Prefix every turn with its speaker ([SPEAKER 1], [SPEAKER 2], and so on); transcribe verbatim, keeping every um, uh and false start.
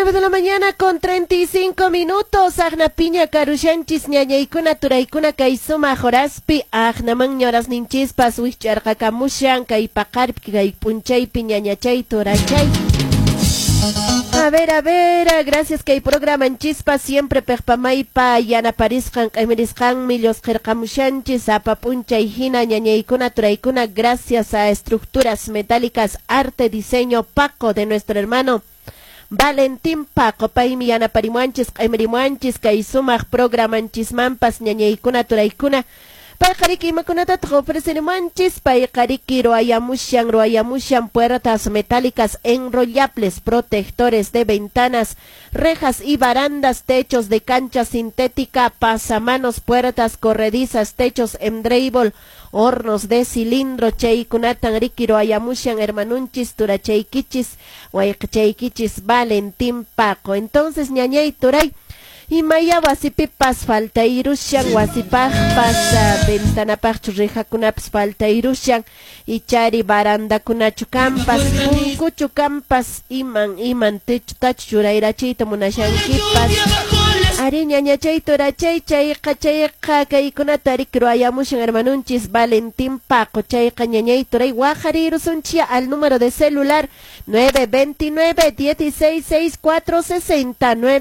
[SPEAKER 1] Nueve de la mañana con treinta y cinco minutos. Aqnapiña karushanchis, ñañaykuna, turaykuna, kay sumaq horaspi. Aqnamanña horasninchispas wikch'arqakamushan kay paqarpi, kay p'unchaypi, ñañachay, turachay. A ver, a ver, gracias kay programanchispa siempre pejpamaypa yanaparisqan, q'imirisqanmi llusqirqamushanchis sapa p'unchay hina, ñañaykuna, turaykuna, gracias a Estructuras Metálicas Arte Diseño Paco de nuestro hermano Valentín Paco, paymi yanaparimuanchis, q'imirimuanchis kay sumaq programanchismanpas, ñañaykuna, turaykuna. Payqariki imakunatataq ofrecerimuanchis? Payqariki ruwayamushan, ruwayamushan puertas metálicas enrollables, protectores de ventanas, rejas y barandas, techos de cancha sintética, pasamanos, puertas corredizas, techos en drywall, hornos de cilindro. Chaykunatan riki ruwayamushan hermanunchis, turachaykichis, wayqachaykichis Valentín Paco. Entonces, ñañay, turay, imaya wasipipas faltayrushan, wasipaqpas, ventanapaqchu rejakunapas faltayrushan, ichari barandakunachu kampas, punkuchu kampas, iman iman techotachu churayrachiyta munashankipas. Ari, ñañachay, turachay, chayqa chayqa kaykunata riki ruwayamushan hermanunchis Valentín Paco. Chayqa, ñañay, turay, waqarirusunchis al número de celular nueve veintinueve dieciséis seis cuatro sesenta nueve.